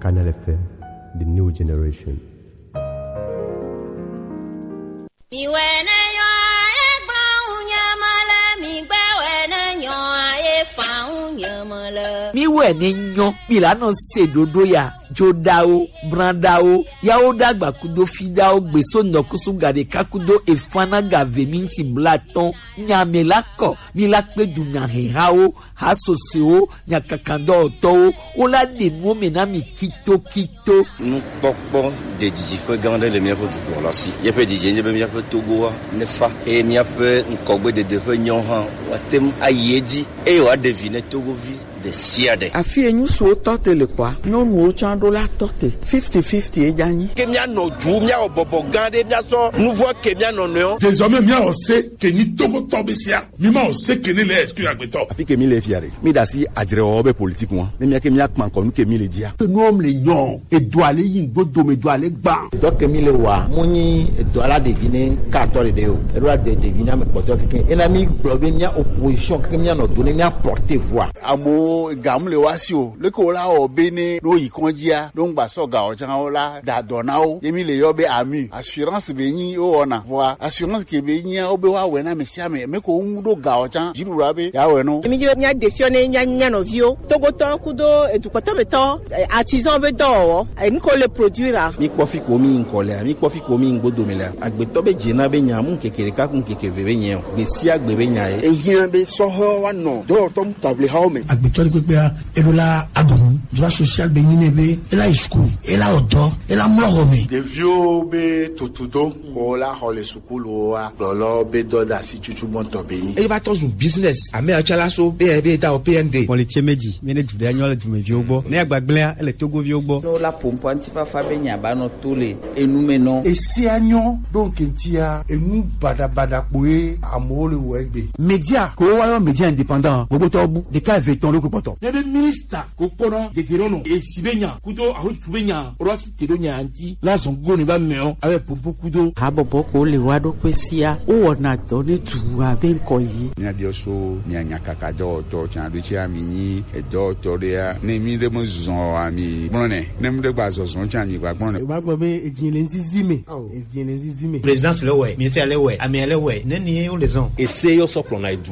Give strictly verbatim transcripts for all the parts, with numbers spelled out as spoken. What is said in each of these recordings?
Canal F M, the new generation. Mi wɛ ne nyɔ, egblɔ ŋu nye mele, mi gbe wɛ ne nyɔ, ye fa ŋu nye mele. Mi wɛ ne nyɔ, mi la nɔ se ɖoɖo ya, joɖawo, braɖawo, yawo ɖagba kudo fiɖawo, gbeso nɔkusu gaɖeka kudo efana gave minti blatɔn, nya me la kɔ, mi la kpe du nya hehawo, hasosewo, nyakakadɔwɔtɔwo, wo la ɖe nuwo me na mi kitokito. Nukpɔkpɔ ɖe didiƒe gã aɖe le míaƒe dukɔ la si. Míaƒe didi nye be míaƒe Togoa nefa eye míaƒe ŋkɔgbedede ƒe nyawo hã woate ŋu ayi edzi eye wòaɖe vi ne Togovi ɖe sia ɖe. Afi yi ŋutsuwo tɔ te le kɔa, nyɔnuwo tsã ɖo la tɔ te. Fifty fifty ye dza nyi. Ke míanɔ du, míawɔ bɔbɔ gã ɖe, míasɔ nuvɔ ke míanɔ nɔewo. Désormais, míawɔ se ke nyi Togotɔ be sia. Mi ma o se ke ne le est-ce que agbetɔ. Afi ke mi le fia ɖe. Mi ɖe asi adzrewɔwɔ be politique ŋua. Ne mía ke mía kpa ŋkɔ nu ke mi le dzia. Enuwo le nyɔ, edo ale yi ŋgbo dome do ale gba. Dɔ ke mi le wa, mo nyi edo ala ɖevi ne ka tɔ ɖeɖe o. Eɖo ade ɖevi na me kpɔtɔ keke. Ena mi gblɔ be mía opposition keke mía nɔ do ne mía porte voix. Amewo gam le wa si o. Leke wo la wɔ be ne ɖo yi kɔndzia, ɖo ŋgba sɔ ga o tsã wo la da dɔ na wo. Ye mi le yɔ be ami. Assurance be nyi wo wɔna. Vɔa assurance ke be nyia wo be wa wɛ na me sia me. Me ko ŋu ɖo ga o tsã. Dziɖuɖua be ya wɛ no. Mi dzi be mía ɖe fiɔ ne mía nya nɔviwo. Togotɔ kudo edukpɔtɔ be tɔ, eh, artisan be dɔwɔwɔ. Eh, mi ko le produire a. Mi kpɔ fi ko mi ŋkɔ lea, mi kpɔ fi ko mi ŋgbo dome lea. Agbetɔ be dze na be nya mu keke ɖeka ku keke ve be nyɛ o. Gbe sia gbe be nya ye. Ehiã be sɔhɔ wa nɔ dɔwɔtɔ mu table hawo me. Agbetɔ ɖe kpekpea, eɖo la aɖu nu. Droit social be nyi ne be, ela yi school, ela wɔ dɔ, ela mlɔ xɔ me. Ɖeviwo be tutudo, ko la xɔ le sukulu wa, gblɔlɔ be dɔdasi tutu gbɔntɔ be nyi. Eye va tɔ zu business, ame atsalaso, be, be ta o P N D. Mɔlitse meji, mi ne du ɖe anyɔ le dumeviwo gbɔ. Ne agbagblẽa, ele Togoviwo gbɔ. No la pompo antifafa be nya ba nɔ to le enu me nɔ. Esia nyɔ ɖo ŋkɛntia, enu baɖabaɖa kpoe amewo le wɔ egbe. Media, ko wa yɔ media indépendant, gbogbo tɔ bu, ɖeka eve tɔn ɖo ko kpɔtɔ. Ne be ministre ko kpɔnɔ gegere nɔ, esi be nya, kudo aho tu be nya, ro asi te ɖo nya anti, la zɔn go ne ba mɛ o, abe pompo kudo. Habɔbɔ ko le wa ɖo kpe sia, wo wɔna dɔ ne tu abe ŋkɔ yi. Mía biɔ so, mía nya kaka dɔwɔtɔ, tsan ɖo tsi ami nyi, edɔwɔtɔ ɖe ya, ne mi ɖe me zɔn ami, gblɔ nɛ, ne mi ɖe gba zɔzɔn tsan mi gba gblɔ nɛ. Ba gbɔ be edzi le ŋzizi me. Edzi le ŋzizi me. Présidence le wɛ, ministère le wɛ, amea le wɛ, ne ni ye wo le zɔn. Ese yɔ sɔ kplɔna edu.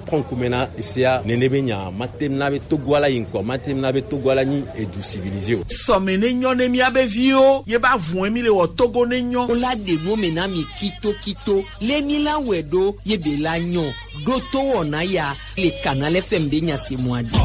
Kɔnkume na esea nene be nya, matem na be Togo ala yi ŋkɔ, matem na be Togo ala nyi edu civilisé o. Sɔme ne nyɔ ne mía be viwo, ye ba vun mi le wɔ Togo ne nyɔ. Wo la ɖe nu me na mi kito kito, le mi la wɛ ɖo, ye be la nyɔ. Ɖo to wɔna ya, le Canal F M ɖe nya se mɔ adi.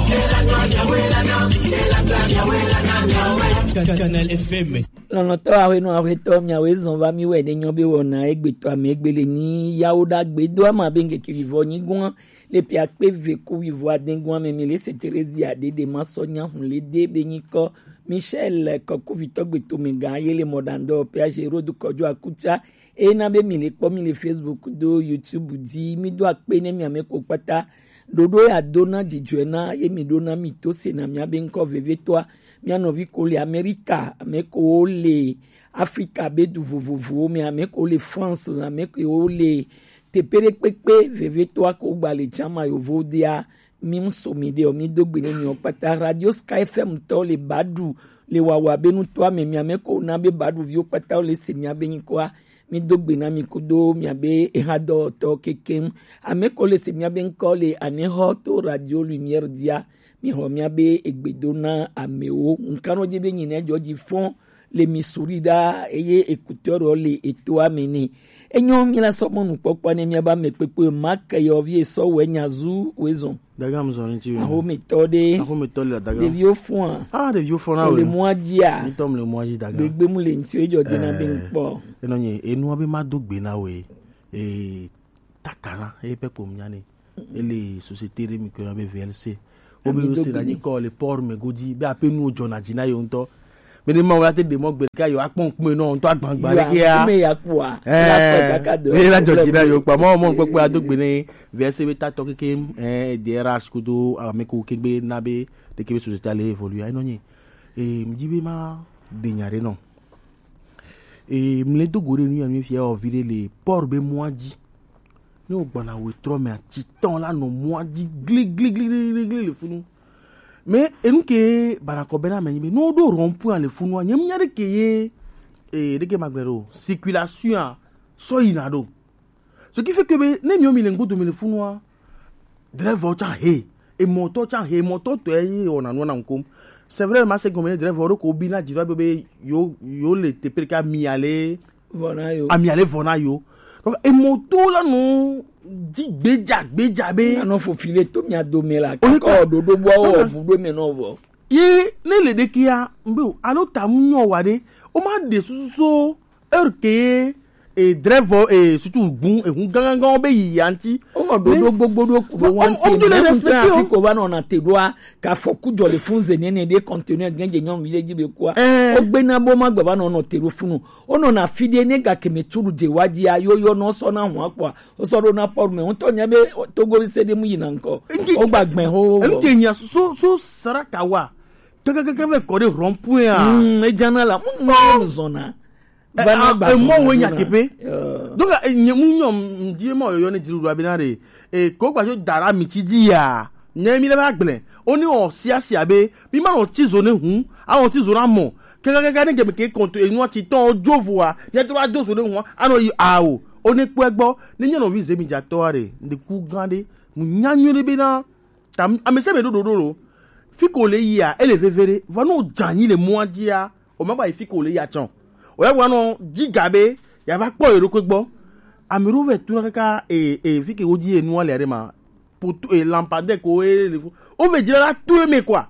Canal F M. Lɔlɔ̃tɔ aƒenɔ aƒetɔ miawoe zɔn va mi wɛ ne nyɔ be wɔna egbetɔ ame egbe le ni yawo ɖagbe do ama be ŋkeke vivɔ nyi gɔn le ƒe akpe eve ku vivɔ ade gɔn me mi le se Terezia ɖeɖe ma sɔ nya hun le de be nyikɔ Michel kɔkuvitɔ gbetome gã ye le mɔɖaŋdɔ ƒe aze rodo kɔdzo akutsa eye na be mi le kpɔ mi le Facebook do YouTube dzi mi do akpe ne mi ame ko kpata. Ɖoɖo ya do na dzidzɔe na ye mi ɖo na mi to se na mia be ŋkɔ vevitɔa. Mia nɔvi ko le Amerika, ame ko le Afrika be du vovovowo me, ame ko le France, ame ko le teƒe ɖe kpekpe vevitɔa ko gba le jama yovo dea. Mi ŋu so mi ɖe o, mi do gbe ne mi o kpata. Radio Sky F M tɔ le Badu le wawa be nutɔa me, mi ame ko na be Badu viwo kpata wo le se mia be nyikɔa. Mi do gbe na mi kudo mia be eha dɔwɔtɔ kekeŋ. Ame ko le se mia be ŋkɔ le anexɔ to Radio Lumière dia. Mi xɔ mia be egbe do na amewo. Ŋkanɔ dzi be nyi ne dzɔ dzi fɔn le mi suri ɖa eye écouteur le etoa me ne. Enyo mi la sɔ mɔnu kpɔkpɔ ne mia ba me kpekpe ma ke yɔ vi esɔ wɛ nya zu wɛ zɔn. Daga mu zɔn ti. Ahometɔ ɖe. Ahometɔ le daga. Ɖeviwo fɔa. Ah, ɖeviwo fɔna. Le mɔa dzia. Ŋutɔ mu le mɔa dzi daga. Gbegbe mu le ŋuti edzɔ dina be ŋkpɔ. Enɔ nye enua be ma do gbe na we. Eh, takana, eh, pe kpom nya ne. Ele société ɖe mi ko na be V L C. Wo be wo se na nyi kɔ le port me godzi be ape nuwo dzɔna dzi na yewo ŋutɔ. Be ne Mawu la te ɖe mɔ gbe ɖeka yewo akpɔ ŋkume nɔ ŋutɔ agbagba ɖe kea. Ŋkume ya kpɔa. Eh, la kpɔ kaka do. Be la dzɔ dzi na yewo kpa mɔ mɔ kpekpe ado gbe ne V S C be tatɔ keke, eh, D R H kudo ame ko kegbe na be ɖeke be société le évoluer enɔ nyi. Eh, mi dzi be ma de nya ɖe nɔ. Eh, mle do go ɖe nu ya mi fia o vi ɖe le port be mɔa dzi. Ne wo gbɔna wetrɔ mea, titɔn la nɔ mɔa dzi gli gli gli gli gli gli le funu. Mais enu ke banakɔ bena mɛ nyi be no do rond-point le funu a nyem nya de ke ye e de ke magbe do circulation a so yina do. Ce qui fait que be ne mi o mi le ngbodo mi le funu a driver o tsa he e moto tsa he moto to e o na no na nkom. C'est vrai ma se gome driver o ko bi na driver be yo yo le te pe ka mi ale Vɔ na yo. Ami ale vɔ na yo. Donc emoto la no di gbeja gbeja be. Anɔ fofile to mia dome la. Kakɔ dodo bɔ wɔ bu do mɛ nɔ vɔ. Ye ne le de kia mbe o alo ta mu nyɔ wa de. O ma de susu so heure ke e drɛvɔ e sutu gun e hun gangan be yi yanti. O ma dodo gbogbo do ku do wanti. O do le respecte o. Fi ko ba nɔ na te do a ka fɔ ku jɔ le fun ze nene de conteneur gɛnje nyɔnu yi de ji be kua. O gbe na bo ma gba ba nɔ nɔ te do funu. Wonɔna afi ɖe ne gake me turu dze wa dzi ayoyɔ nɔ sɔ na hua kpɔa wosɔ ɖo na pɔru me ŋutɔ nya be togo se ɖe mu yina ŋkɔ wogba gbɛ ho. Enu ke nya so so saraka wa kekekeke ve kɔ ɖe rond-point a. Mm, edzana la mu mu zɔna. Vana gba emɔ wo nya kepe. Donc nye mu nyɔ ndi emɔ yɔyɔ ne dziɖuɖu abena ɖe e ko gba jo dara mi tsi dzi ya. Nye mi le ba gblẽ. Oni o sia sia be mi ma o tsi zo ne hu a o tsi zo na mɔ. Kekekeke ne geme ke kɔnto enua tsi tɔn o jo voa mi a tro a do zo ne hu a no yi a o. Oni kpɔ egbɔ ne nye nɔvi zemi dzatɔ a ɖe ndeku gã ɖe mu nya nyuie ɖe be na ta ame se me ɖo ɖoɖo lo. Fi ko le yia ele veve ɖe vɔ no dza anyi le mɔa dzia o ma gba yi fi ko le ya tsɔ. O ya gba nɔ dzi ga be ya va kpɔ yeɖokui gbɔ. Ame ɖewo vɛ tuna kaka e e fi ke wo dzi enua le aɖe ma poto e lampadaire ko e le fo o vɛ dzra la to eme quoi.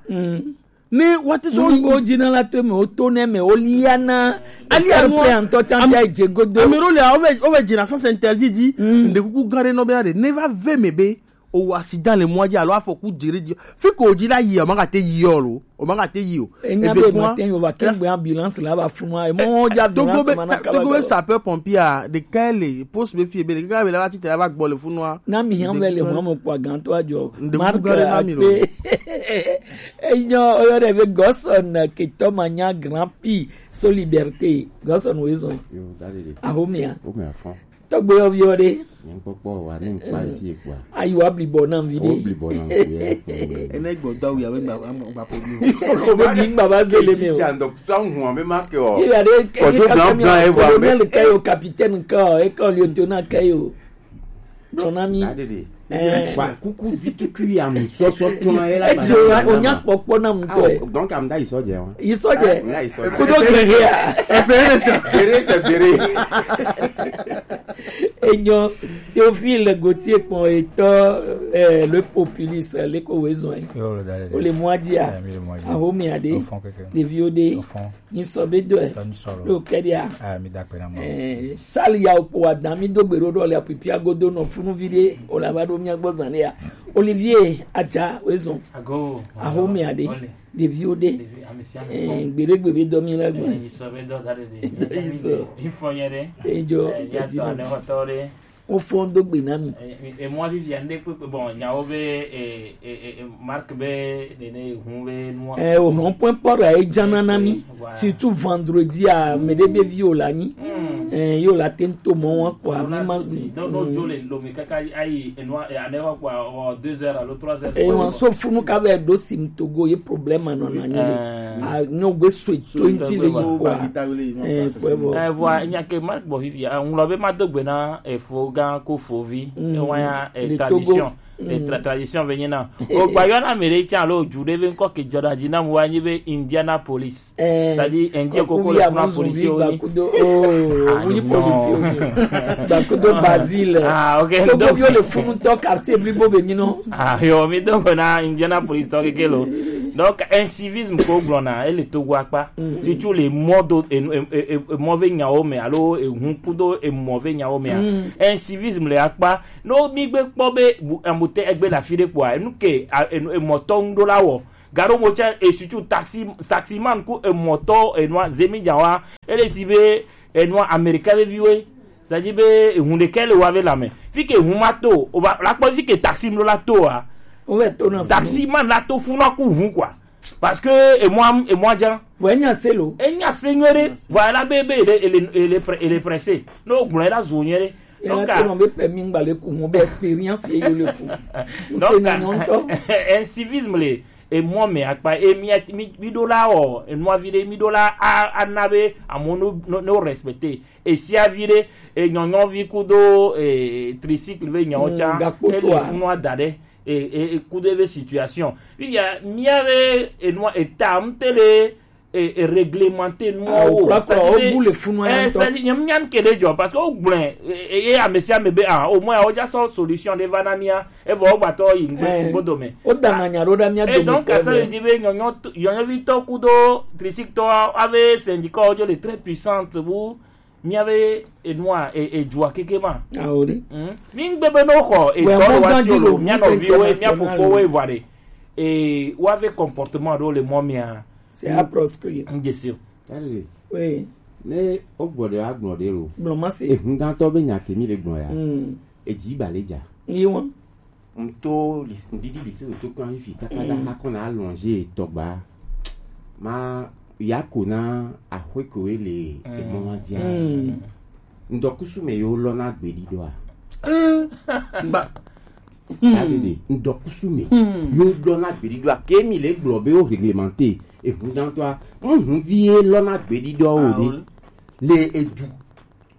Ne wati so wo dzi na la to eme o to ne eme o lia na ali anua ŋutɔ tsantia dze godo. Ame ɖewo le o vɛ o vɛ dzra sens interdit dzi. Nde kuku gã ɖe nɔ be na ɖe ne va ve me be o wɔ accident le mɔa dzi alo afɔku dzi ɖe dzi fi ko dzi la yi o ma gate yi o lo o ma gate yi o. Enya be ma te yo va kengbe ambulance la va funu a emɔ dzi ambulance ma na kaba togo be sapeur pompier a ɖeka le poste be fi be le kaka be la va tite la va gbɔ le funu a. Na mi hã vɛ le hɔn mo kpɔ gantɔ adzɔ mark akpe. Enyɔ oyɔ ɖe be gɔsɔn ketɔ ma nya grand pi so liberté gɔsɔn wo ezɔn. Ahomia. Tɔgbe yɔ viɔ ɖe. Nyɛnkpɔkpɔ wa ne nkpa le fi ekpɔa. Ayi wa blibɔ na vi ɖe. Wo blibɔ na vi ɖe. Ene gbɔ dɔ ya be gba gba po bi. Ko be di gba ba zele me o. Ti ando sa hu ame ma ke o. Ye ya de ke. Kojo blanc blanc e wa me. Colonel ke yo capitaine ke o e ko lieutenant ke yo. Dɔnami. Wa kuku vitukui ya mu sɔsɔ tɔn ye la. Edzo ya o nya kpɔkpɔ na mu tɔ. Donc am da isɔ jɛ wa. Isɔ jɛ. Kodo gɛgɛ ya. Bere c'est bere. Enyɔ Théophile Gauthier kpɔn etɔ eh, le populiste le ko wezɔn. O le mwa dia. Ahome ade. Ɖeviwo de. Ni sɔ be dɔe. Lo kɛ dia. Sali ya okpo wa dan mi do gbero ɖo le apipi agodo nɔ funu vi de o la va ɖo mia gbɔ zan ya. Olivier Adja wezɔn. Ahome ade. Ɖeviwo ɖe. Gbeɖegbe be dɔ mi la gbe. Ejɔ. Wofɔn do gbe na mi. Emɔ vivia ŋɖe kpekpe bon nyawo be mark be nene hun be nua. Ohɔn point pɔra edzana na mi. Surtout vendredi a mɛ ɖe be vi o la nyi. Yo la te to mɔ wọn kpɔ ami ma gbi. Ewa so funu ka bɛ do sim togo ye problème nɔ na nyi le. Nyɔ gbe so to nti le yi kpɔ. Kpɔ bɔ. Vɔ nya ke ma gbɔ fifi a ŋlɔ be ma do gbe na efo gã ko fovi ewa ya tradition. Tradition be nyi na o gba yɔ na mi ɖe tsa lo ju ɖe be ŋkɔ ke jɔ ɖa dzi na mu wa nyi be Indianapolis. C'est-à-dire un dieu koko le funa policier o ni. Bakudo oh oui policier o ni. Bakudo Basile. Ah ok. Togo viwo le funu tɔ quartier blibo be nyi nɔ. Ah yo mi do ko na Indianapolis tɔ keke lo. Donc un civisme ko gblɔ na ele Togo akpa. Surtout le mɔ do emɔ ve nyawo me alo ehun kudo emɔ ve nyawo me a. Un civisme le akpa no mi gbe kpɔ be amute egbe la fi de kpɔa enu ke emɔtɔ ŋu do la wɔ. Gaɖo mo tsɛ esutu taxi taximan ku emɔtɔ enua zemi dza wa ele si be enua Amerika be viwe sadi be ehun ɖekɛ le wa be lame fi ke ehun ma to o ba la kpɔ fi ke taxi mlo la to wa. Taximan la to funa ku hun quoi parce que emua emua dza. Vɔ enya se lo. Enya se nyuie ɖe vɔ ela be be ele ele ele presse ne o gblɔ ela zu nyuie ɖe. Donc a. Be permis ŋgba le ku ho be expérience ye yo le ku. Donc a. Un civisme le emɔ mɛ akpa e mi mi mi ɖo la wɔ enua vi ɖe mi ɖo la a ana be amewo no no no respecte esia vi ɖe enyɔnyɔvi kudo e tricycle ve nyawo tsa ele funu ada ɖe e e kudo eve situation fifia mia be enua eta ŋute le e e réglementer nuwo kura kura wo bu le funu ya ŋutɔ. Ɛ sɛ nyɛ mia ŋke ɖe dzɔ parce que wo gblɔe e e ame sia ame be ah o mɔ ya wo dza sɔ solution ɖe va na mia evɔ wo gbatɔ yi ŋgbe ŋgbe dome. Wo dana nya ɖo ɖa mia dome. Et donc asa yi di be nyɔnyɔ nyɔnyɔvitɔ kudo trisiktɔ ave syndicat wo dzo le très puissante wu mia be enua e e dzua keke ma. Awo ɖe. Mi ŋgbe be no xɔ etɔ ɖo wa si o lo mia nɔviwo mia fofowo evɔ ɖe e wa ve comportement ɖo le mɔ mia. C'est à proscrire. N dze si o. Tadi oui. Ne o gbɔ ɖe agblɔ ɖe lo. Gblɔ ma se. Ehun gãtɔ be nya ke mi le gblɔ ya. Mm. Edzi ba le dza. Yi wɔn. Ŋto ŋdidi lise ŋto kura fifi kaka da akɔ na alɔnze tɔgba ma ya ko na axwe ko le emɔ ma dia. Ŋdɔkusu me yo lɔ na gbedi dɔa. Ba. Tadi de ŋdɔkusu me yo lɔ na gbedi dɔa ke mi le gblɔ be o réglementer ehun gãtɔa ŋhun vi ye lɔ na gbedi dɔa o de le edu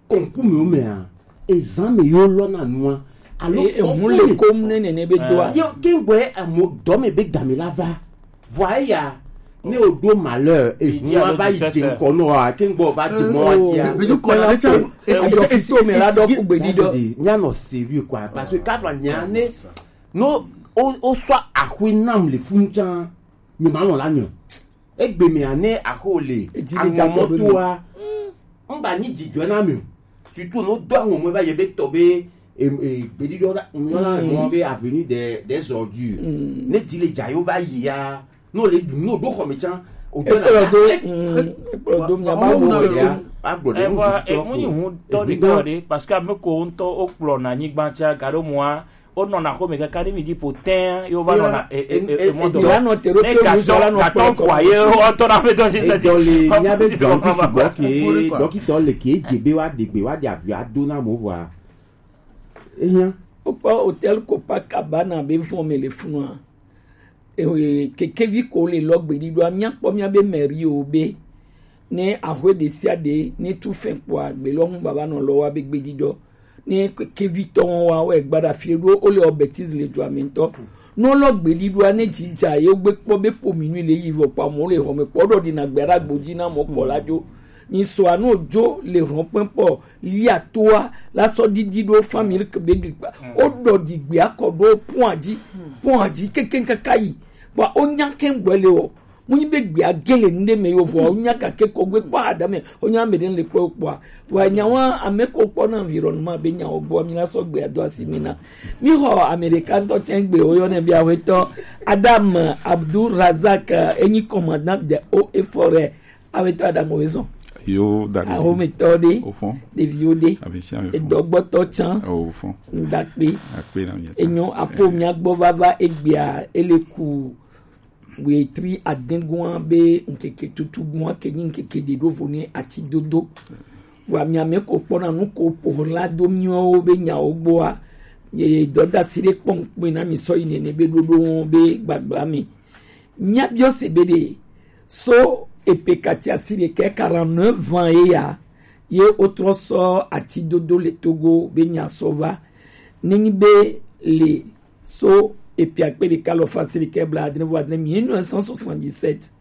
kɔnku mi o mea ezan mi yo lɔ na nua alo ehun le kom ne nene be doa. Yo kengbe amo dɔ me be game la va vɔ eya ne o do malheur ehun wa va yi dze nkɔ nɔ wa kengbe o va dze mɔ wa dia. Be du kɔ la le tsa. Eyo fito me la dɔ ku gbedi dɔ. Nya nɔ sérieux quoi parce que kava nya ne no o o sɔ axwe nam le fun tsa. Nye ma nɔ la nyɔ. Egbe mea ne axo le aŋɔmɔtoa ŋba nyi dzidzɔ na mi o. Surtout no do aŋɔmɔ va ye be tɔ be gbediɖɔ la ŋlɔ la ŋlɔ be avenue des des ordures ne dzi le dza yo va yi ya no le no do xɔ me tsan o do na ekplɔ do ekplɔ do mia ma wo me ya agblɔ de no. Ewa emu yi ŋu tɔ de tɔ de parce que ame ko ŋutɔ o kplɔ na nyigba tsa gaɖo mua. Wonɔna xɔme kaka ɖe mi dzi ƒo tɛ̃ ye wova nɔna emɔ dɔ. Yewoanɔ te ɖo kple ŋuzɔla nɔ kpɔ kɔ. Gatɔ kɔa ye wotɔ na ƒe dɔ si sɛti. Edɔ le mía be dɔn ti sugbɔ ke dɔkitɔ le ke dze be woaɖe gbe woaɖe abui ado na amewo vɔa. Ehiã. Wokpɔ hotel Copacabana be vɔ̃ me le funua. Eo kekevi ko le lɔ gbeɖiɖɔa, míakpɔ míabe mɛriwo be ne axwe ɖesiaɖe ne tu fɛn kpɔa, gbe lɔ ŋu baba nɔ lɔ wa be gbeɖiɖɔ. Ne kekevi tɔn wa wɔ egba ɖa fie ɖo wo le wɔ bêtise le dua me ŋutɔ. Ne wo lɔ gbeɖiɖɔa, ne dzi dza ye wo gbe kpɔ be po minui le yi vɔ kpɔ amewo le xɔme kpɔ ɖɔ ɖina gbe ɖa gbodzi na mɔ kpɔ la dzo. Mi sɔa no dzo le hɔn kpɛn kpɔ lia toa la sɔ didi ɖo famille ke be glikpa. O ɖɔ di gbe akɔ ɖo pɔn adzi, pɔn adzi kekeŋ kaka yi. Kpɔ o nya keŋ gbɔ le o. Mu nyi be gbe age le nu ɖe me yo vɔ o nya kake kɔ gbe kpɔ ada me o nya me ɖe le kpɔ kpɔa. Wa nya wa ame ko kpɔ na environnement be nya o gbɔ mi la sɔ gbe ado asi mi na. Mi xɔ Amerika ŋutɔ tsɛ gbe o yɔ ne bia wetɔ Adam Abdul Razak enyi commandant de o efore. Awetɔ Adamu wezɔn. Yo dani. Ahometɔ ɖe. Ofɔn. Ɖeviwo ɖe. Amesi amefɔn. Edɔgbɔtɔ tsan. Ofɔn. Ŋdakpe. Akpe na mi. Enyo apo mia gbɔ vava egbea ele ku wetri adengua be ŋkeke tutu gua ke nyi ŋkeke ɖe ɖo vo ne ati dodo. Vɔ amia me ko kpɔna nu ko po la do miwo be nyawo gbɔa. Ye dɔdasi ɖe kpɔn kpe na mi sɔ yi nene be ɖoɖo be gbagbla mi. Míabiɔ se be ɖe so epe kati asi ɖekɛ quarante-neuf ans ye ya ye wotrɔ sɔ atidodo le Togo be nya sɔ va. Nenyi be le so epe akpe ɖeka alɔfa asi ɖekɛ blaadre vɔ adre mille neuf cent soixante-dix-sept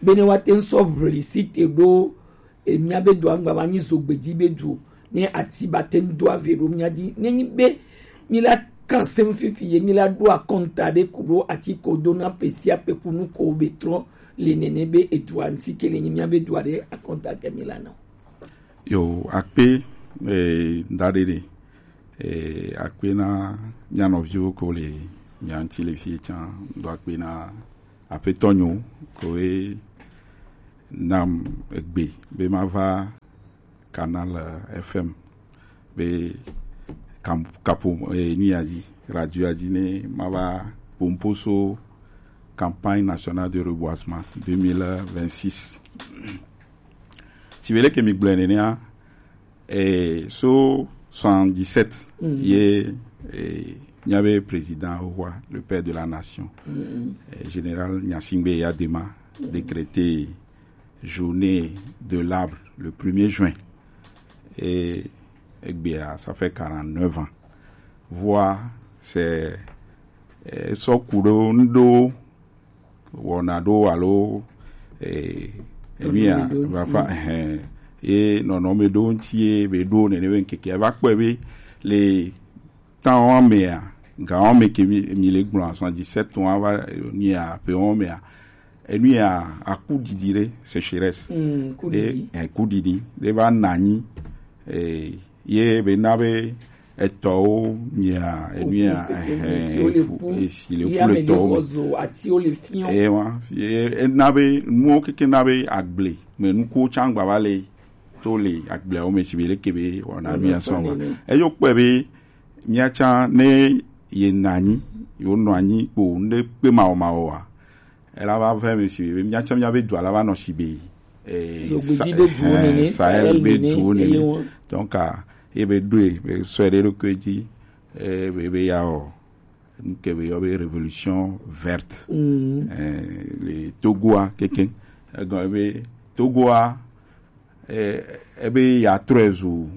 be ne wa te ŋ sɔ ʋli si te ɖo e mía be dua ŋgba va nyi zogbe dzi be du ne ati ba te ŋ do ave ɖo mía dzi. Ne nyi be mi la kan sem fifi ye mi la ɖo akɔnta ɖe ku ɖo ati ko do na pe sia pe ku nu ko be trɔ le nene be edua ŋuti ke le nyi mía be dua ɖe akɔnta ke mi la na. Yo akpe eh, da ɖe ɖe eh, akpe na mía nɔviwo ko le mía ŋuti le fie tsã do akpe na Aƒetɔ nyo koe nam egbe be mava Canal F M be kam- kapo eh, nuya dzi, radioa dzi ne mava pomposo campagne nationale de reboisement deux mille vingt-six. Si be leke mi gblɔe nenea, eh, so soixante-dix-sept ye eh, Miabe président roi, le père de la nation, euh, général Gnassingbé Eyadema, décrété journée de l'arbre le premier juin. Et egbea, ça fait quarante-neuf ans. Voir, c'est, euh, so kudo ndo wɔna ɖo alo, eh, enu ya va fa, eh, ye nɔnɔme ɖo ŋuti ye be ɖo nene be ŋkeke va kpɔe be le temps wa mea, ga wa me ke mi, mi le gblɔ soixante-dix-sept wa va, eh, nu ya pe wa mea, enu ya aku ɖiɖi ɖe sécheresse. Mm, ku ɖiɖi. Eh, ku ɖiɖi ɖe va na anyi, eh, ye be na be etɔwo mia, enu ya, eh, esi le ku le tɔwo me. Eye wa, ye, ena be nuwo keke na be agble me nukuwo tsã gba va le to le agbleawo me si be leke be wɔna nu ya sɔ va. Eyo kpɔe be mia tsã ne ye na anyi, ye nɔ anyi kpo ŋɖe kpe mawɔmawɔ wa, ela va vɛ mi si be mia tsã mia be dua la va nɔ si be, eh, Sahel be duwo nene. Donc, ah, ye be ɖoe, be sɔe ɖe ɖokui dzi, eh, be, be ya wɔ nu ke be yɔ be révolution verte. Eh, le Togoa keke. Egɔme be Togoa, eh, ebe ya trɔe zu,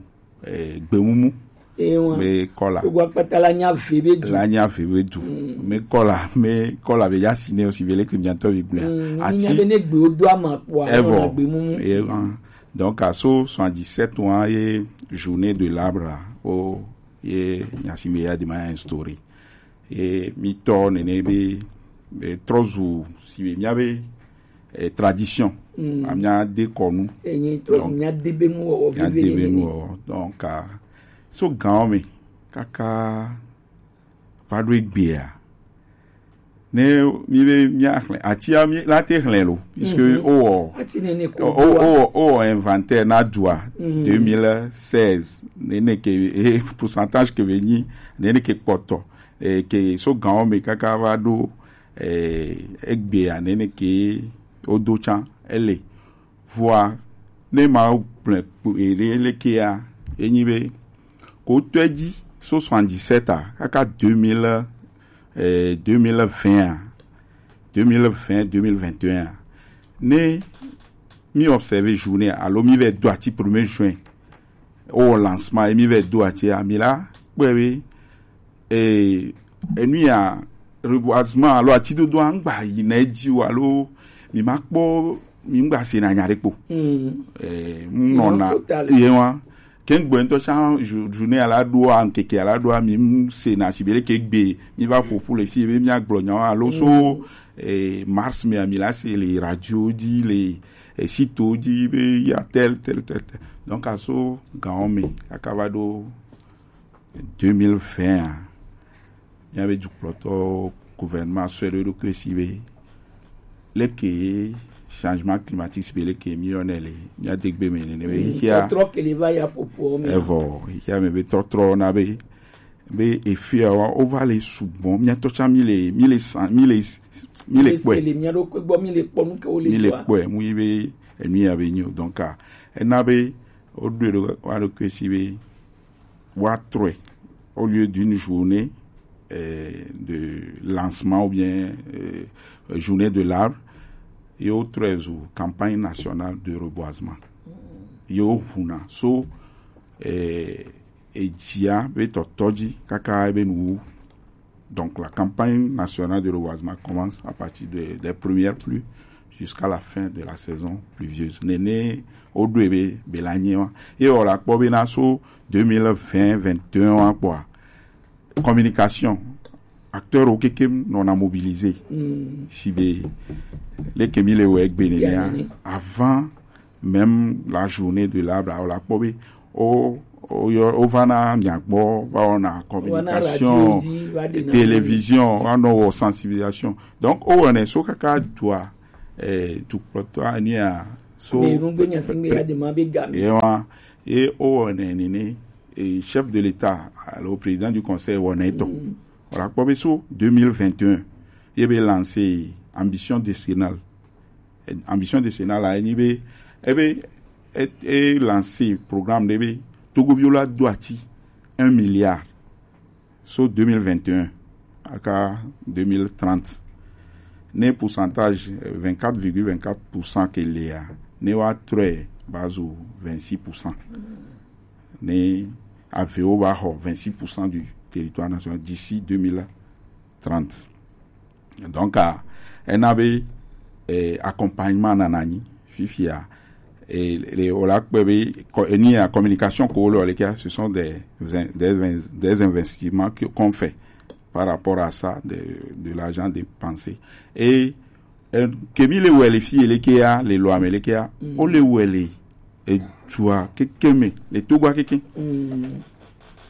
eh, gbemumu. Ewa. Be kɔla. Togoa kpata la nya ve be du. La nya ve be du. Me kɔla, me kɔla be ya si ne aussi be leke miatɔ be gblea. Ati. Nya be ne gbewo do ama kpɔa, evɔ. Gbemumu. Ewa. Donc, à so soixante-dix-sept wa ye journée de l'arbre, o ye Gnassingbé Eyadema instauré. Ye mi tɔ nene be, be trɔ zu si be mia be, eh, tradition. A mia de kɔnu. Enyi trɔ zu mia de be nu wɔwɔ. Mia de be nu wɔwɔ. Donc, ah, so gan me kaka va ɖo egbea. Ne mi be mia xlẽ, atia mi la te xlẽ lo, puisque o, o, o, o inventaire na dua deux mille seize, nene ke, eh, pourcentage ke be nyi, nene ke kpɔtɔ, eh, ke so gan me kaka va ɖo, eh, egbea, nene ke o do tsã, ele. Vɔa, ne ma gblẽ kpo ere lekea, enyi be, ko tɔe dzi, so soixante-dix-sept a, kaka deux mille, eh, deux mille vingt a, deux mille vingt, deux mille vingt et un a. Ne mi observer journée, alo mi vɛ do ati premier juin, o lancement, e mi vɛ do ati a, mi la kpɔe be, eh, enu ya, reboisement, alo atidodo a ŋgba yi na edzi o, alo mi ma kpɔ, mi ŋgba se na nya ɖe kpo. Eh, nɔna, ye wa. Ke ŋgbe ŋutɔ tsã, jou-, journée ala ɖoa, ŋkeke ala ɖoa, mi ŋ se na si be leke gbe, mi va ƒo ƒu le fi be mia gblɔ nyawo, alo so, eh, mars me mi la se le radio dzi, le, eh, site dzi be ya tel, tel, tel, tel. Donc, a so gan me, kaka va ɖo deux mille vingt a, mia be dukplɔtɔ gouvernement sɔe ɖo eɖokui si be, leke changement climatique si be leke mi yɔnɛ le, mia de gbe me nene be, mm, xia, tɔtrɔ ke le va ya popo me. Evɔ, xia me be tɔtrɔ na be, be efia wa, o va le sugbɔ, mia tɔ tsã mi le, mi le san, mi le, mi le kpɔe. Mi le kpɔe, mu yi be, enu ya be nyi o. Donc, ah, ena be, o ɖo ɖo, wa ɖo ke si be, wa trɔe, au lieu d'une journée, euh, de lancement ou bien, euh, journée de l'arbre, ye wo trɔe zu campagne nationale de reboisement. Ye wo huna so, euh, edzia be tɔtɔ dzi kaka ebe nuwu. Donc, la campagne nationale de reboisement commence à partir de, des premières pluies jusqu'à la fin de la saison pluvieuse. Nene, o ɖo ebe, be la nye wa. Ye o la kpɔ be na so deux mille vingt, vingt et un wa kpɔa, communication, acteurs wo kekem nɔna mobiliser. Mm. Si be, leke mi le wɔ egbe nenea, avant même la journée de l'arbre, o la kpɔ be, o, o yɔ, o va na mia gbɔ, va wɔna communication, télévision, va nɔ wɔ sensibilisation. Donc, o wɔnɛ so kaka dua, eh, dukplɔtɔ ania, so, be nugbe nya si be ya de ma be ga mi. Ye wa, ye o wɔnɛ nene, eh, chef de l'État, alo président du conseil wɔnɛ tɔ. Mm. O la kpɔ be so deux mille vingt et un, ye be lancer ambition décennale. Ambition décennale la, enyi be, ebe, e, e lancer programme ɖe be, Togoviwo la do ati un milliard. so deux mille vingt et un aka deux mille trente, ne pourcentage vingt-quatre virgule vingt-quatre pour cent ke lia, ne wa trɔe va zo vingt-six pour cent, ne avewo va xɔ vingt-six pour cent du territoire national d'ici deux mille trente. Donc, a ena be eh, accompagnement nana nyi fifia, et les olakpe be, enu ya communication ko le ke, ce sont des, des, des investissements que qu'on fait par rapport à ça, de, de l'argent dépensé. Et eh, ke mi le wele fi le ke ya, le loi me le ke ya, o le wele et tu as que que me le to gwa que que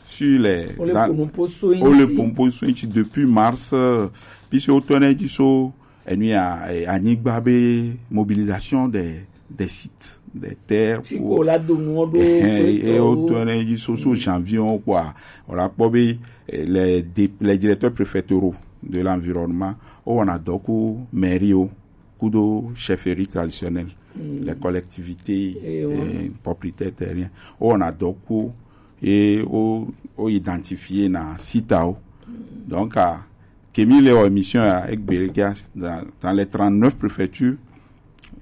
sur les, o le pompo so o le pompo so depuis mars, euh, puisque au tournée du so et nous a, eh, anigba be mobilisation des, des sites, des terres pour la donner et au tournée du so so janvier on quoi, on la pas les, les directeurs préfectoraux de l'environnement, on a donc mairie kudo chefferie traditionnelle, les collectivités eh, propriétaires terriens. On a donc et au, au identifié na sitao. Donc, à Kemi le émission à Ekbelekia, dans, dans les trente-neuf préfectures,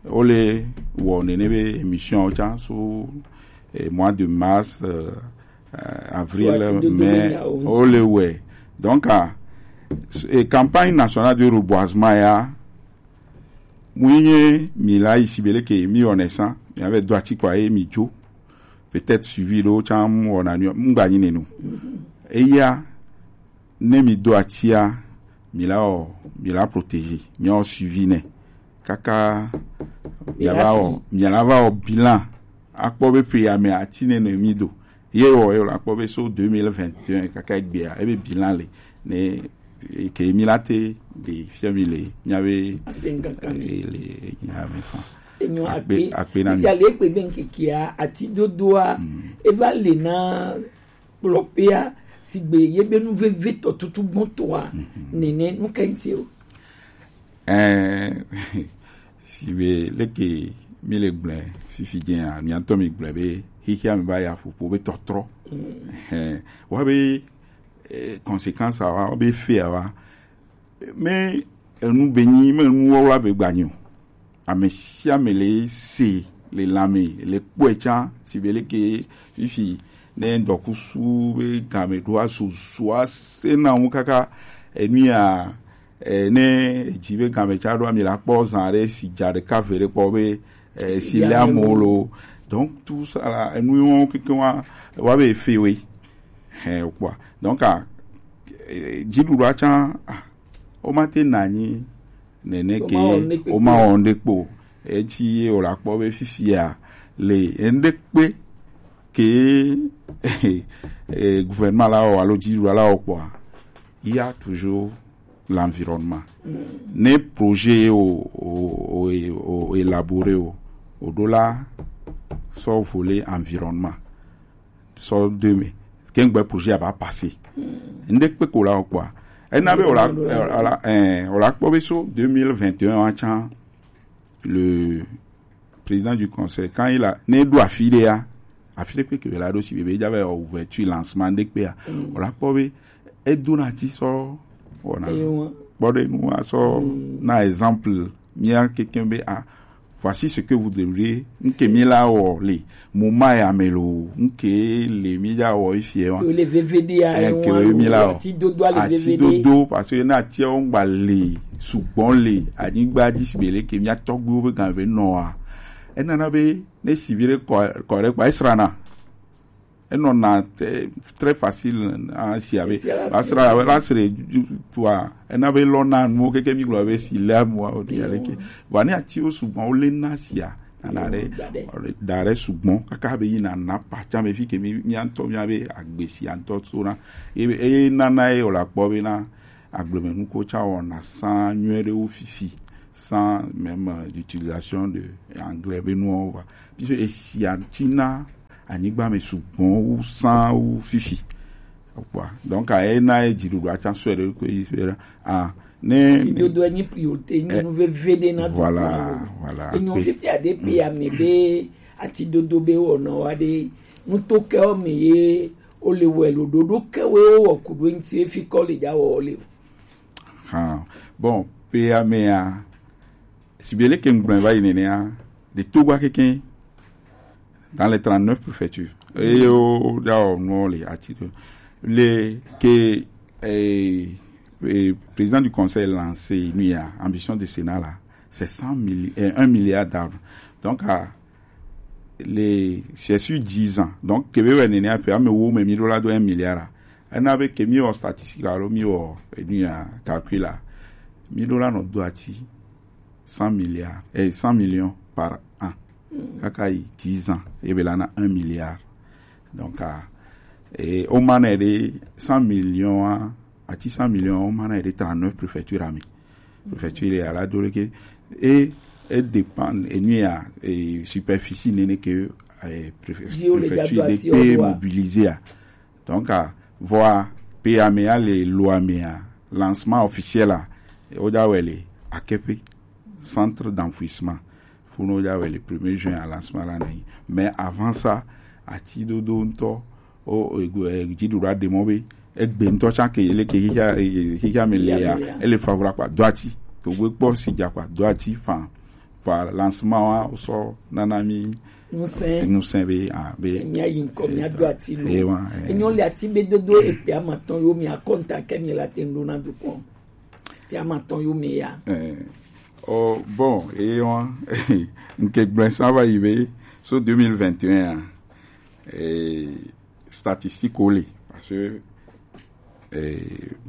on les on émission au sur eh, mois de mars, euh, euh, avril, mai, on les ouais. Donc, à et campagne nationale de reboisement ya, mu yi nye mi la yi si bele ke mi wɔnɛ san, mi ave do ati kɔ ye mi dzo. Peut-être suivi ɖo tsa mu wɔna nu mu gba nyi nenu. Eya ne mi do atia, mi la wɔ, mi la protéger, mi wɔ suivi nɛ kaka mi la wɔ, mi la va wɔ bilan akpɔ be pe ya me ati ne ne mi do. Ye wɔ ye la kpɔ be so deux mille vingt et un kaka gbea ebe bilan le ne ke mi la te de fia mi le mi ave le nya me fa. Enyo akpe akpe na mi ya le kpe be nkekia ati dodoa eva le na kplɔkpea sigbe ye be nu veve tɔ tutu gbɔn tɔa nene nu kɛnti o. Ɛɛ, si be leke mi le gblẽ fifi dzea, mi ŋutɔ mi gblẽ be xexea mi va ya ƒoƒo be tɔtrɔ. Ɛɛ, wa be eh, conséquence awa, be fait awa. Mais enu be nyi, me nu wa be gba nyi o. Ame sia ame le se le lame le kpɔe tsã si be leke fifi ne ŋdɔkusu be game ɖo azozo ase na wo kaka enu ya eh, ne edzi be game tsa ɖo ami la kpɔ zã ɖe si dza ɖeka ve ɖe kpɔ be eh, si le amewo lo. Donc tout ça la enu wo keke wa wa be fe we hɛn o kpɔa. Donc a eh, dziɖuɖua tsã ah, womate na anyi nene ke womawɔ ŋɖe kpo. Etsi ye wòle akpɔ be fifia le ŋɖe kpe ke eh, gouvernement la wɔ alo dziɖuɖua la wɔ kpɔa, il y a toujours l'environnement. Ne projet o o o o élaboré o o ɖo la sɔ volet environnement sɔ de me kengbe projet a ba passer. Ŋɖe kpe ko la wɔ kpɔa, ena be o la o la eh, o la kpɔ be so deux mille vingt et un wa tsã le président du conseil quand il a ne ɖo afi ɖe ya afi ɖe kpe ke la ɖo si be be dza be ouverture lancement ɖe kpe ya o la kpɔ be edo na ti sɔ wɔna kpɔ ɖe nu asɔ na exemple mia keke be a voici ce que vous devrez nke mi la wɔ le mo ma ya me lo nke le mi dza wɔ ifi wa le veve de ya ke mi la wɔ ati dodo ale veve de ati dodo parce que na ati o ngba le sugbɔn le anyigba dzi si be le ke mia tɔgbuiwo be gan be nɔa enana be ne si vi ɖe kɔ kɔ ɖe kpa esrana enɔna très facile asi abe asra abe la sre tua ena be lɔ na nuwo keke mi gblɔ be si le amu o de ya leke vɔ ne atiwo sugbɔn wo le na sia ana ɖe da ɖe sugbɔn kaka be yi na na pa tsa me fi ke mi mia ŋutɔ mia be agbe sia ŋutɔ so na eye nana ye o la kpɔ be na agblemenukuwo tsã wɔna sans nyuie ɖe wo fifi sans même euh, d'utilisation de anglais be nuwo va puisque esia tina anyigba me sugbɔn wu sans wu fifi kpɔa donc a ena ye dziɖuɖu atsã sɔe ɖe ko yi sɔe ɖe a ne ti dodo enyi priorité nyi nu veve ɖe na voilà voilà enyo fifi aɖe pe ame be ati dodo be wɔna wa ɖe nuto ke wo me ye o le wɛ lo ɖoɖo ke we o wɔ ku ɖo eŋti efi kɔ le ja wɔ o le o. Hã. Bon, pe ya me ya, si be le ke ŋgblɔe va yi nene ya, de Togo keke dans les trente-neuf préfectures. Et o da o no le ati do. Le ke eh, eh, président du conseil lancé, nous, il y a ambition de Sénat là, c'est cent mille, eh, un milliard d'arbres. Donc, à les, c'est sur dix ans. Donc, que veut dire, après, mais où, mais mille dollars de un milliard là. On avait que mieux en statistique, alors mieux, et nous, il y a calcul là. Mille dollars, notre doit cent milliards, eh, cent millions par an. Kaka yi dix ans, et bien là, on a un milliard. Donc, ah, et au moins, il y a cent millions, hein, à cent millions, au moins, il y a trente-neuf préfectures, ami. Préfecture, il est à la Doreke. Et, et dépend, et nous, il y a, et superficie, n'est que, eh, préfecture, Dio le préfecture, gado n'est ati que odoa. Mobilisée, hein. Donc, ah, voilà, P A M A, le loi M A, lancement officiel, là, et au Dawele, à Kepe, centre d'enfouissement. Faut nous dire le premier juin à lancement là, mais avant ça, à Tidodo, o, o, e, e, Tidodo a demandé, e gbe ŋutɔ tsa ke, ele ke xixia, e, e, xixia me le ya, ele favorable kpa, do ati. To gbe kpɔ si dza kpa, do ati, fan. Voilà, lancement wa, o sɔ nana mi ŋusẽ. Ŋusẽ be, ah, be. Mía yi ŋkɔ, mía do ati lo. Eh, wa, eh. Enyo le ati be dodo ekpe amatɔn yo mi akɔnta ke mi la te ŋɖo na dukɔn. Ekpe amatɔn yo mi ya. Eh. Oh, bon, et on, nke gblẽ ça va arriver, so deux mille vingt et un, hein. Et statistique o le, parce que eh,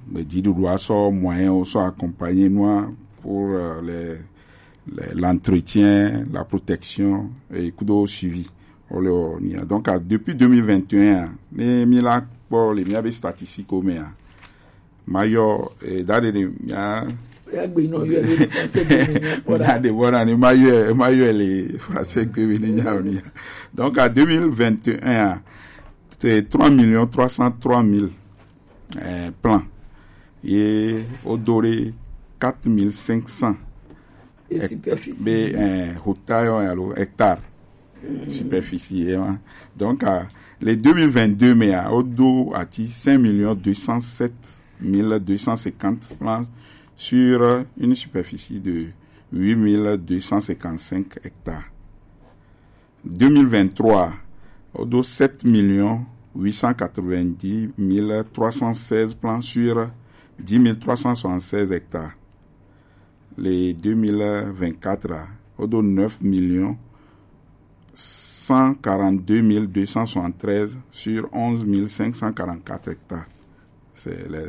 me dit de doit so moyen o so accompagner nous pour euh, les, les- l'entretien, la protection et kudo suivi. O le o ni a. Donc à- depuis deux mille vingt et un, ne mi la pour les miens statistiques au mea. Mayo et dade de mia Ya gbe nɔ yɔ le français de mi nyɔ kpɔ da. Dade voilà ni mayo mayo les français que venu nya o ni. Donc à deux mille vingt et un, c'est trois millions trois cent trois mille eh, plan. Ye o do ɖe quatre mille cinq cents. Et superficie. Be, eh, hota yo alo hectare. Superficie, hein. Donc, euh, les deux mille vingt-deux, mais, euh, o do ati cinq millions deux cent sept mille deux cent cinquante plants sur une superficie de huit mille deux cent cinquante-cinq hectares. Deux mille vingt-trois, o do sept millions huit cent quatre-vingt-dix mille trois cent seize plants sur dix mille trois cent soixante-seize hectares. Les deux mille vingt-quatre, o do neuf millions cent quarante-deux mille deux cent soixante-treize sur onze mille cinq cent quarante-quatre hectares. C'est le,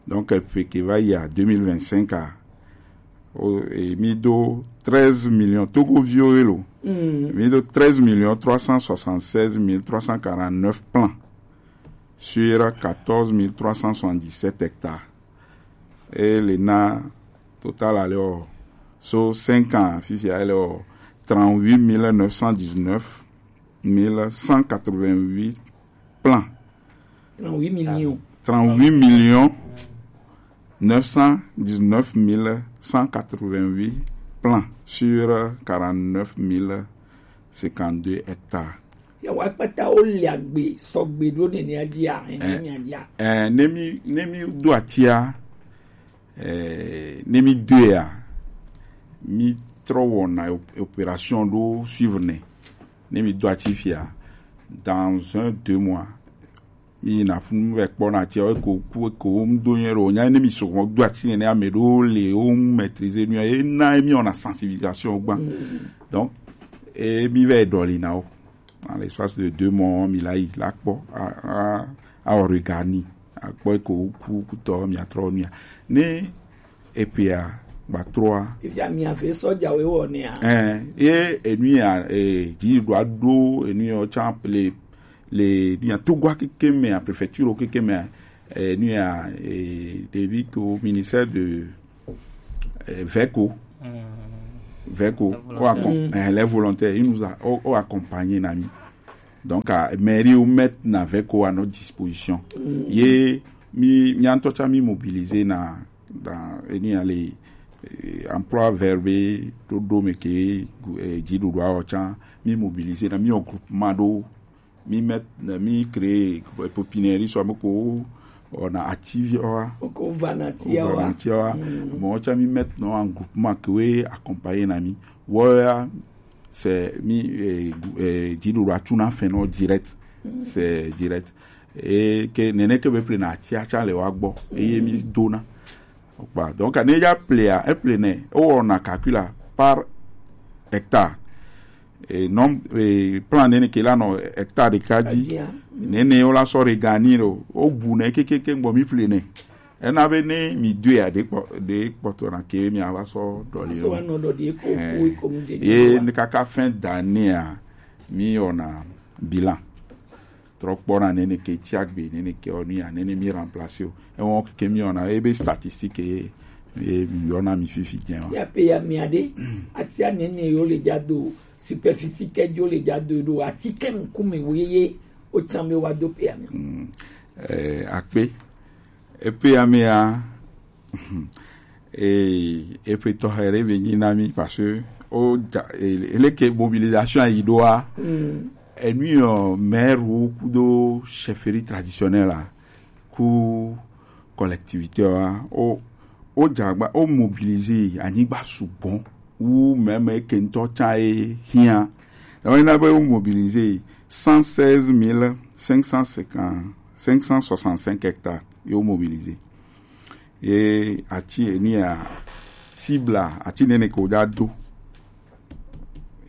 donc, euh, pe ke va yi a deux mille vingt-cinq a, o, e mi do treize millions, Togo vio elo. Mm. Mi do treize millions trois cent soixante-seize mille trois cent quarante-neuf plants sur quatorze mille trois cent soixante-dix-sept hectares. Et le na total alors, sur cinq ans, fifi alors trente-huit mille neuf cent dix-neuf mille cent quatre-vingt-huit plants. Trente-huit millions. Trente-huit millions neuf cent dix-neuf mille cent quatre-vingt-huit plants sur quarante-neuf mille cinquante-deux hectares. Ya wa kpata o le agbe, sɔgbe ɖo nene a dia, eh, eh, mi a dia. Eh, ne mi, ne mi do atia, eh, ne mi do ya, mi trɔ wɔna op-, opération ɖo suivre ne. Ne mi do ati fia, dans un, deux mois, mi na fun vɛ kpɔ na tia, eko ku, eko ŋu do nyuie ɖo, nya ne mi sɔgbɔ do ati nene ame ɖo le, o ŋu maîtriser nu, e na mi wɔna sensibilisation gba. Mm. Donc, e mi vɛ ɖɔli na o. Dans l'espace de deux mois, mi la yi, la kpɔ, a, a, a wɔ regard ni, a kpɔ eko ku, kutɔ, mi a trɔ nu ya. Ne epea gba trɔa. Fifia mi ave sɔjawe wɔ nea. Ɛn, ye enu ya, e, dzi ɖo aɖo enu ya tsa le, le nu ya Togoa keke me, a préfecture keke me, enu ya, e, ɖevi ko ministère de, e, Veco. Mm. Veco, les volontaires. O acom-, mm, eh, les volontaires, ils nous a, o, o accompagné na mi. Donc, a, mairie o mettre na Veco à notre disposition. Mm. Ye, mi, mi ŋutɔ tsa mi mobiliser na, dans, eni ya le, eh, emploi verbe, ɖoɖo me ke, eh, dzi ɖoɖo awɔ tsa, mi mobiliser na mi o groupement ɖo, mi met, mi créer pépinière, soit moko, on a activia, Oko vanatia wa. Matiawa. Bon, tu as mis maintenant en groupement que oui accompagné nami. Voilà, c'est mi eh, eh, Didou la tuna fait non direct. C'est direct. Et que nene que be plena tia tia le wa gbo. Et mi dona. Voilà. Donc, on a déjà plé, un plein, on a calculé par hectare. Et non, et plan nene que là, non, hectare de kadi. Nene, on la sort regani, au bout, ne, que, que, que, bon, mi plein. Ena be ne mi du ya de kpɔ de kpɔtɔ na ke mi ava sɔ dɔli. So wa no do di ko ko ko mu je. Ye ne kaka fin d'année a mi ona bilan. Trɔ kpɔ na nene ke tiagbe nene ke onu ya nene mi remplacer o. E won ke mi ona e be statistique e e mi ona mi fifi jen wa. Ya pe ya mi ade. Ati a nene yo le ja do superficie ke jo le ja do do ati ke nkume wo ye o tsambe wa do pe ya mi. Eh, akpe. Epe ya me ya. Eh, epe to here be nyi na mi parce que o ja, eh, ele ke mobilisation a ido a. Enu yo maire ou kudo chefferie traditionnelle la. Ku collectivité wa o o jagba o mobiliser anyigba sugbon ou même ke ntɔ tsa e hia. Donc il a mobilisé cent seize mille cinq cent cinquante cinq cent soixante-cinq hectares yo mobilisé. Et ati eni a cible ati nene ko da do.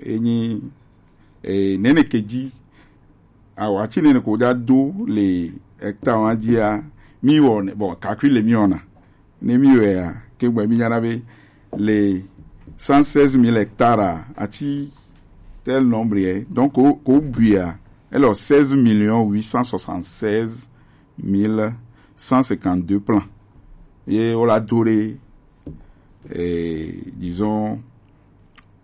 Eni e nene ke di awa ti nene ko da do le hectare wa dia mi wo ne bon calcul le mi ona ne mi we a ke gbe mi yana be le cent seize mille hectares ati tel nombre est donc ko ko bia alors seize millions huit cent soixante-seize mille cent cinquante-deux plants et on l'a doré et disons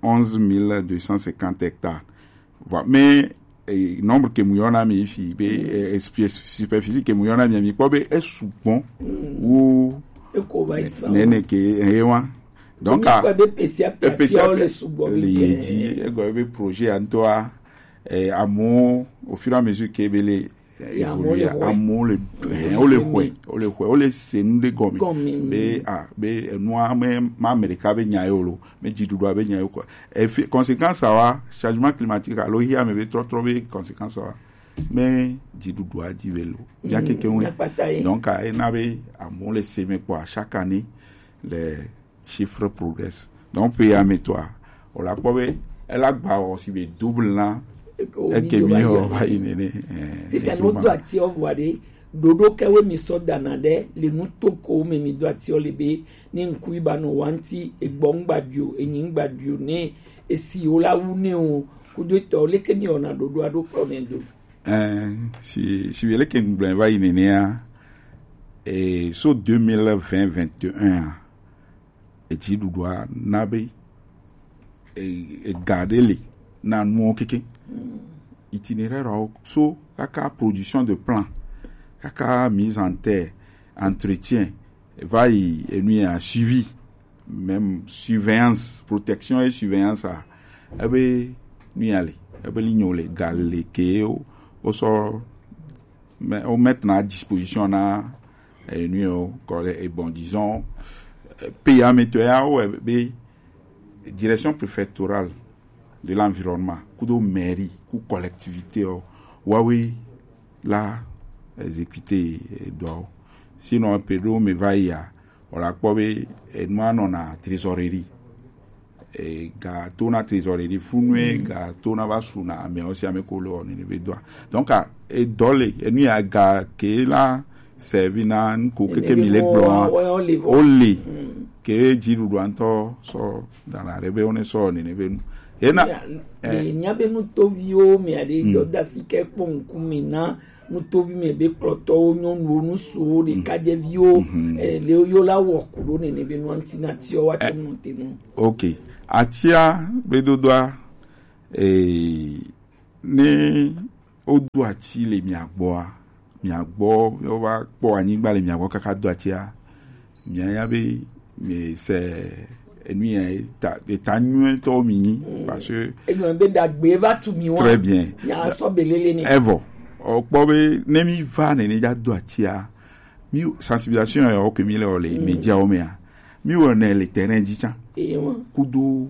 onze mille deux cent cinquante hectares. Voilà. Mais eh, nombre ke mu yona mi fi be eh, espèce superficie ke mu yona mi mi ko be esugbon ou Eko ba isa. Nene ke ewa. Donc a Ko be pesia pesia le subo le bi. Yedi e go be projet en toi eh, amour au fur et à mesure que be le évoluer amour le eh, o le hwe o le hwe o le se nu de gomi. Be a be enu a me ma Amerika be nya yo lo me di dudu a be nya yo quoi. Et conséquence a wa changement climatique a lo hi a me be trop trop be conséquence a wa me di dudu a di be lo ya keke wen. Donc a e na be amour le se me quoi chaque année les chiffres progressent. Donc pe ya me toi o la kpɔ be ela gba o si be double na eke mi o va yi nene. Fifia no do ati o vwa de dodo ke we mi so dana de le nu to ko me mi do ati o le be ni nku iba no wanti egbo ngba bio enyi ngba bio ne esi o la wu ne o ku do to le ke mi ona dodo ado ko ne do. Eh, si si be le ke ngble va yi nene a eh, so deux mille vingt vingt et un a eti dudu a na be e garde le na nuwo keke itinéraire awo so kaka production de plan kaka mise en terre entretien va yi enu ya suivi même surveillance protection et surveillance a ebe nu ya le ebe li nyo le ga le ke o o sɔ mais on mettre à disposition na eh, nu yo kɔ et bon disons eh, pays ametɔ ya o eh, be direction préfectorale de l'environnement kudo mairie ku collectivité o wawe la exécuter eh, dɔ o sinon pe do me va ya o la kpɔ be eh, nu anɔ na trésorerie e ga to na trésorerie funue ga to na va su na ame osi ame ko le o nene be doa donc a e dɔ le enu ya ga ke la servi na nko keke mi le gblɔ o le ke dzi ɖuɖua ŋutɔ sɔ dana ɖe be wone sɔ nene be nu ena nya be nutoviwo mea ɖe dɔ da si ke kpɔ ŋkume na nutovi me be kplɔtɔwo nyɔnuwo nusuwo ɖekadzeviwo eh, le yo la wɔ ku ɖo nene be nua ŋuti na tiɔ wa te nu te nu. Ok, atia be dodoa eh, ne wodo ati le mia gbɔa mia gbɔ wova kpɔ anyigba le mia gbɔ kaka do atia mia ya be mi se Enu ya eta eta nyuie tɔ mi nyi, parce que Egbe be dagbe va tu mi wa. Très bien. Ya sɔ belele ni. Evo, okpɔ be ne mi va nene ja do atia, mi sensibilisation ya o ke mi le o le média o mea. Mi wo ne le terrain di tsa. Ewa. Kudo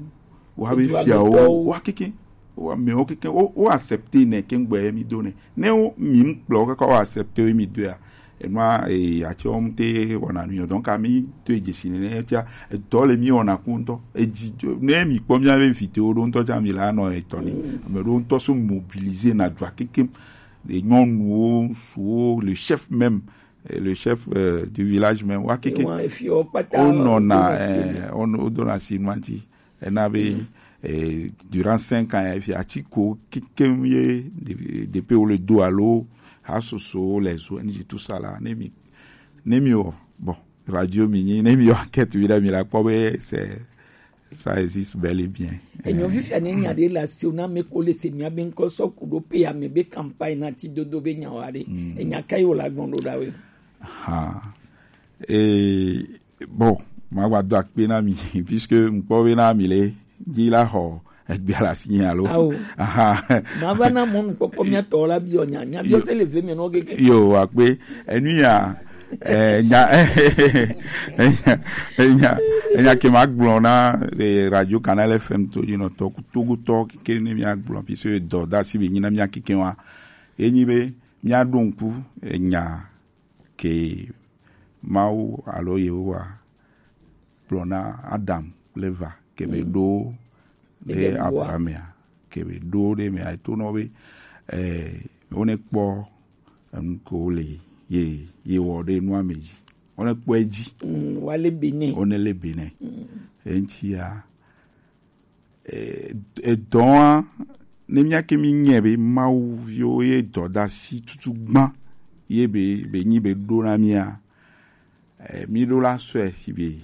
wa be Edu fia agbetɔwo. O wa keke. Wa me o keke o, o accepter ne ke ngbe mi do ne. Ne o mi mkplɔ kaka o accepter mi do ya. Enua e ati o mte wona nu yo. Donc ami to e jesi ne tia e dɔ le mi wona ku ŋutɔ. E dzi ne mi kpɔ mi ave vidéo ɖo ŋutɔ ja mi la nɔ etɔ ni. Ame ɖo ŋutɔ so mobiliser na dua kekem. Les nyɔnuwo, ŋutsuwo, le chef même, eh, le chef euh, du village même, wa keke. Ewa, efi o kpata, o nɔna, o nɔna eh, o nɔ- o dona si nua ŋuti. Ena be eh, durant cinq ans ya fi ati ko kekem ye de- depuis o le do alo ha soso les O N G tout ça là ne mi ne mi o bon radio mi nyi ne mi o enquête wi ɖe mi la kpɔ be c'est ça existe bel et bien. Enyo fifia ne nya ɖe le asi o na ame ko le se mia be ŋkɔ sɔ ku ɖo pe ame be campagne na ti dodo be nya wa ɖe. Enya ka yi wo la gbɔn ɖo ɖa we. Ha. Et bon, ma wa do akpe na mi puisque ŋkpɔ be na mi le di la xɔ egbe la si nya lo. Awo. Aha. Ma va na mɔnu kpɔkpɔ mia tɔ la bi o nya nya bi o se le ve mi no gege. Yo akpe enu ya eh, nya enya enya ke ma gblɔ na eh, radio canal F M to you know to kutugu to ke ne mia gblɔ puisque dɔ da si be nyi na mia kike wa. Enyi be mia ɖo ŋku enya ke Mawu alo Yehowa gblɔ na Adam kple Eva ke be ɖo ɖe Eden bua. Abraham ya ke be ɖo ɖe me ato nɔ be eh, wone kpɔ enu ko le ye ye wɔ ɖe nua me dzi wone kpɔ edzi. Mm, wale bene. Wone le bene. Eŋti ya edɔa ne mía ke mí nyɛ be Mawu viwo ye dɔdasi tutu gbã ye be be nyi be ɖo na mía eh, mí ɖo la sɔe si be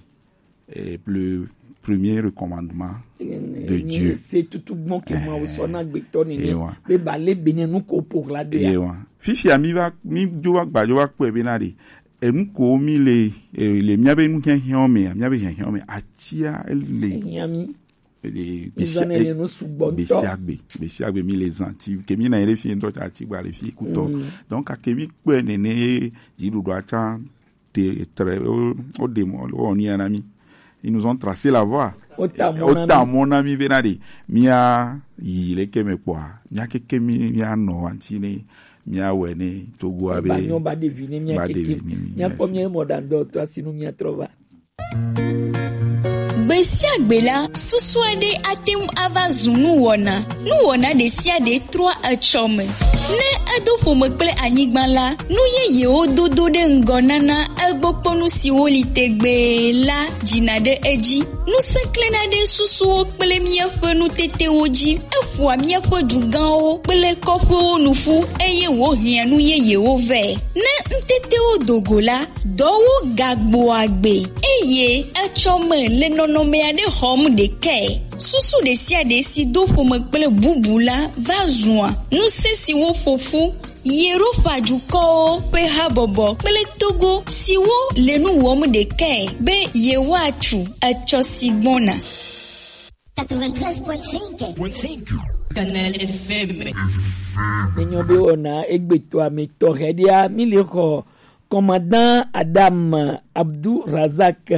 eh, le premier recommandement de Dieu. Se tutu gbɔn ke Mawu sɔ na gbetɔ ni ne be ba le bene nu ko po la de ya. Ewa. Fifia mí va mí dzo va gba dzo va kpɔe be na ɖe enu ko mí le eh, le mía be nu hiahiã me mía be hiahiã me atia le. Hiã mí. Gbesiagbe gbesiagbe mi le zan ti ke mi na yere fi ŋutɔ ta ti gba le fi kutɔ donc ake mi kpɔe nene dziɖuɖua tsã te tre o de mɔ o ni ana mi ils nous ont tracé la voie. Ota mɔ na mi bena de mia yi le ke me kpɔa mia keke mi mia nɔ anti ne mia wɛ ne togo abe ba nyɔ ba de vi ne mia keke mia kpɔ mia mɔ dan dɔ to asinu mia trɔ va. Gbe sia gbe la, susu aɖe ate ŋu ava zu nuwɔna. Nuwɔna ɖe sia ɖe trɔa etsɔ me. Ne edo ƒome kple anyigba la, nu yeyewo dodo ɖe ŋgɔ nana egbokpɔnu siwo li tegbee la dzina ɖe edzi. Ŋusẽ klẽna ɖe susuwo kple míaƒe nutetewo dzi. Eƒoa míaƒe dugãwo kple kɔƒewo nu ƒu, eye wòhiã nu yeyewo vɛ. Ne nutetewo do go la, dɔwo gagbɔa agbe, eye etsɔ me le nɔnɔme aɖe xɔm ɖekae. Susu ɖe sia ɖe si do ƒome kple bubu la va zua ŋusẽ siwo ƒo ƒu Yerofa dukɔwo ƒe habɔbɔ kple Togo siwo le nu wɔm ɖekae be yewoatu etsɔ si gbɔna. Quatre-vingt-treize point cinq. Canal F M. Nenyo be wɔna egbetɔa me tɔxɛ ɖia, mi le xɔ Commandant Adam Abdou Razak,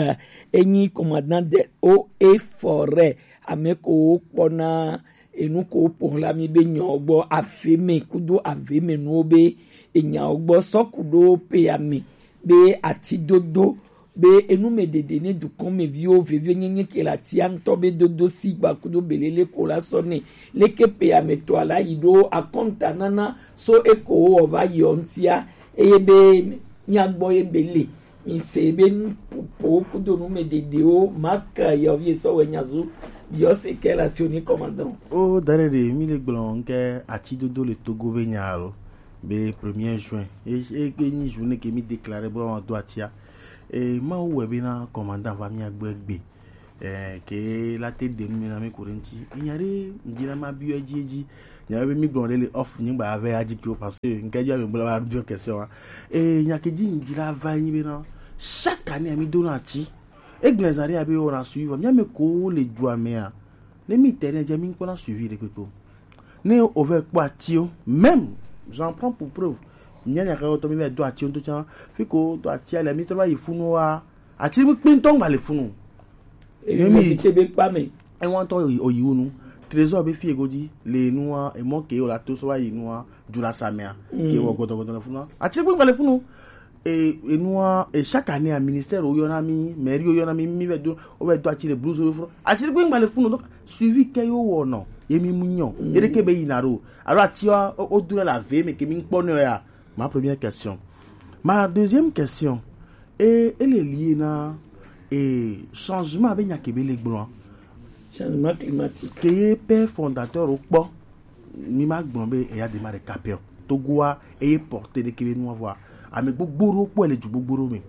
enyi commandant de eaux et forêts, ame ko kpɔna enu ko ƒo xlã mi be nyawo gbɔ ave me kudo ave me nuwo be enyawo gbɔ sɔ ku ɖo pea me be atidodo be enumeɖeɖe ne dukɔmeviwo vevienyenye ke le atia ŋutɔ be dodo si gba kudo belele ko la sɔ nɛ. Leke pea me tɔa la yi ɖo akɔnta nana so eko wowɔ va yi ɔ ŋutia eye be mía gbɔ ye be le. Mi se be nuƒoƒowo kudo numeɖeɖewo Mark yɔvi esɔ wɛ nyazu biɔ se ke la sio ni commandant. O dare de mi le gblɔ nke atidodo le Togo be nya alo be premier juin e e e nyi journée ke mi déclarer bro do atia. E Mawu wɛ be na commandant va mía gbɔ egbe. Eh, ke la te ɖe nu me na mi ko ɖe ŋuti. Enya ɖe ŋdi na ma biɔ edzi edzi. Nya be mi gblɔ ɖe le off nyigba ave adzi kiwo parce que ŋke dzi ame bla ba biɔ question wa. Eh, nya ke dzi ŋdi la va nyi be na chaque année mi do na ti. Egblẽ zã ɖe abe wona suivi vɔ. Mía mɛ ko le dua mea, ne mi te ne dze mi kpɔna suivi ɖe kpekpe o. Ne o vɛ kpɔ ati o, même, j'en prends pour preuve. Mía nya ka tɔ mi vɛ do ati o ŋutɔ tsã. Fi ko do ati ale mi trɔ va yi funu wa. Ati kpekpe ŋutɔ ŋgba le funu. Eyi Ne mi mi ti te be kpa me. Ewa ŋutɔ oyi, oyi wonu. Trésor be fi ego dzi le nua, emɔ ke o la to so va yi nua, du la sa mea. Ke wɔ gɔdɔgɔdɔ le funu. Ati kpekpe ŋgba le funu. E, enua, e, chaque année, a ministère wo yɔna mi, mairie wo yɔna mi, mi vɛ do, wo vɛ do ati le blues wo fro. Ati ɖe gba le funu, donc suivi ke yo wɔ nɔ, ye mi mu nyɔ. Ye ɖe ke be yina ɖo. Alo ati wa, o, o do la ve me ke mi kpɔ ne ya. Ma première question. Ma deuxième question. E, ele lié na, e, changement be nya ke be le gblɔ. Changement climatique. Ke ye père fondateur wo kpɔ. Mi ma gblɔ be eya de ma ɖeka pɛ o. Togoa eye porte ɖe kebe nua vɔa. Ame gbogbo ɖewo kpɔe le du gbogbo ɖewo me.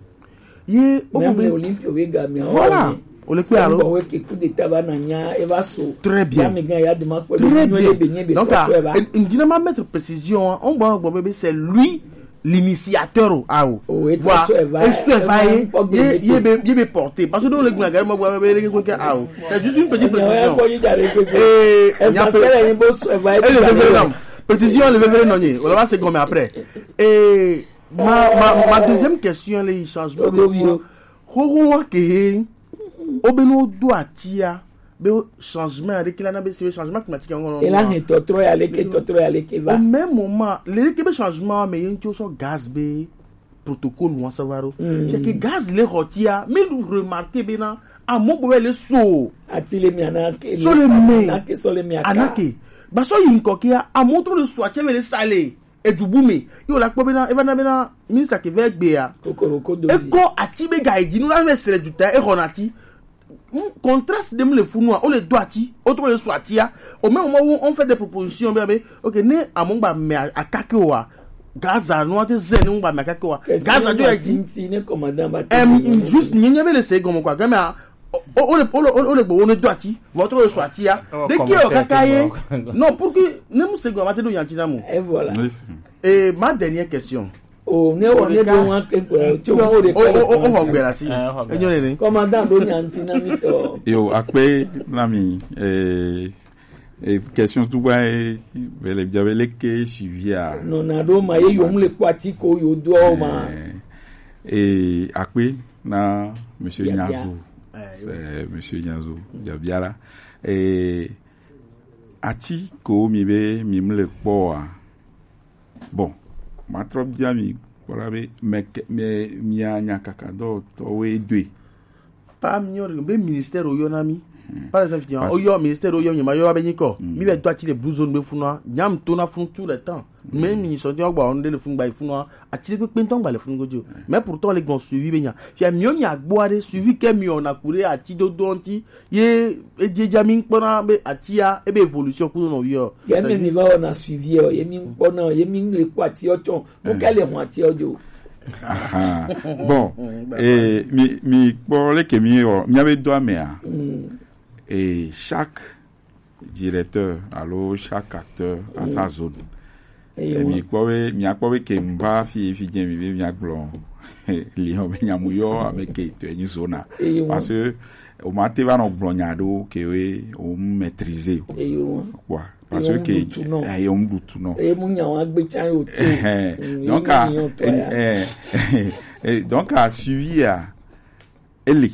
Ye o Même be les Olympiques we ga mi. Voilà. O le kpe alo. Bon, we ke coup d'état va na nya e va so. Très bien. Ya me ga ya de ma kpɔ. Très bien. Donc, ah, ŋdina ma mettre précision, hein. On va gblɔ be c'est lui l'initiateur o, ah, o. Voilà. Esu eva ye, ye be, ye be porter. Parce que dans le gouvernement, vous avez les gens, ah, o. C'est juste une petite précision. Et il y a pas. Précision, le verre non. On va se gommer après. Et ma, ma, ma deuxième question, les changements. Ho, ho, wa ke. O be no do atia. Be changement, avec la na be se changement climatique en. Et là, c'est totro ya leke, totro ya leke va. Au même moment, le ke be changement, mais il y a so gaz be protocole ou ça va. C'est que gaz le rotia, mais nous remarquer bien, à mon boy le so. Ati le mi anake. So le mi. Anake, so le mi aka. Anake. Ba so yin kokia, à mon trop le soitia mais le salé. Edubu me. Yo la kpɔ bena, eva na bena, ministre ke vɛ gbe ya. Kokoroko do. Eko ati be ga edzi nu la vɛ srɛ duta, e xɔ na ati. Mm, contraste de mu le funu a, o le do ati, o to le so ati a. Au même moment où on fait des propositions, bien, bien, ok, ne amongba me a, a kake wa. Gaza no ate zen ngba me a kake wa. Gaza do ya edzi. Ne commandant ba. Em, juste, nye, nye be le se gomo kwa. Game a, o, o, o le, o le, o le, o le gbo, o ne do ati. Votre le so ati a. De ke o kaka ye. Non, pour que, ne mu se gomo, ate do yanti na mu. Et voilà. Et ma dernière question. O ne o ne do wan ke ko to o de. O, o, o, o, o, gbera si. Enyo le ni. Commandant do nyanti na mi to. Yo, akpe na mi, eh, eh, question tu ba, eh, bele bia bele ke sivia. Non, na do ma ye yo mu le kwati ko yo do o ma. Eh, eh, akpe na monsieur Nyazo. Eh, monsieur Nyazo, Jabiala. Eh, ati ko mi be mi mu le kpɔ a. Bon, ma trɔ bia mi, voilà be, mais, mais, mia nya kaka dɔ tɔ we dwe. Pas mi yɔ be ministère o yɔ na mi. Par exemple, o yɔ ministère o yɔ mi ma yɔ be nyikɔ. Mi be do ati le blue zone be funua, nyam to na fun tout le temps. Mais mi sɔ jɔ gba on de le fun gba funua, ati le pe ntɔ gba le fun gojo. Mais pourtant le gbɔn suivi be nya. Fia mi o nya gbo are suivi ke mi o na kure ati do do nti. Ye, e, je, ja, mi kpɔna be atia, e be évolution kudo no yo. Ye me mi va wɔna suivi o, ye mi kpɔna, ye mi le kpɔ ati o tsɔ. Mo ka le hɔn ati o jo. Aha. Bon, eh, mi, mi kpɔ le ke mi o, mi ave do amea. Et chaque directeur, alors chaque acteur a sa zone. Et mi kpɔ be, mi a kpɔ be ke mba fi, fi je mi be mi a gblɔ. Li hɔn be nyamu yo, ame ke to ni zona. Parce que o ma te va nɔ gblɔ nya ɖewo ke we o maîtriser o. Kpɔa, parce que ke eye o mu ɖu tu nɔ. Eye mu nya wa gbe tsa yo te. Donc a, eh, eh, donc a suivi a, ele,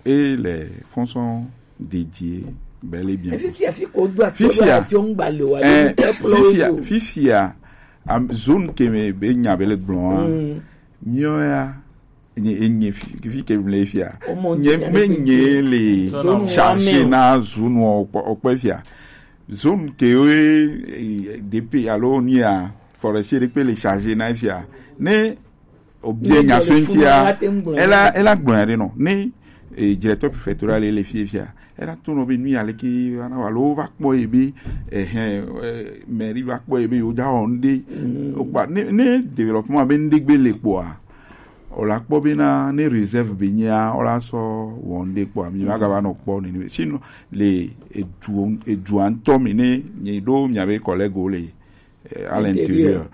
et les fonds sont dédiés bel et bien. Fifia, fi ko do ati, fifia, ati o ngba le wa, eh, fifia, fifia, am, zone ke me be nya bel gblɔ a. Mio ya, nye, nye fi, fi ke mle fia. Nye, me nye le chargé na zone o, o kpe fia. Zone ke we, eh, D P alo ni a forestier de pe le chargé na fia. Ne o bien nya fentia. Ela, ela gblɔ ya de no. Ne, eh, directeur préfectoral le fia fia. Ela to no be nu ya le ke ana wa lo va kpɔ ye be, eh, eh, mairie va kpɔ ye be yo ja on de. O kpa, ne, ne développement be nde gbe le kpɔa. O la kpɔ be na ne réserve be nya, o la sɔ wɔ nde kpɔa. Mi va ga va nɔ kpɔ ni, ni. Sinon, le edu, edu antɔ mi ne, ni do mi ave collègue o le, eh, à l'intérieur.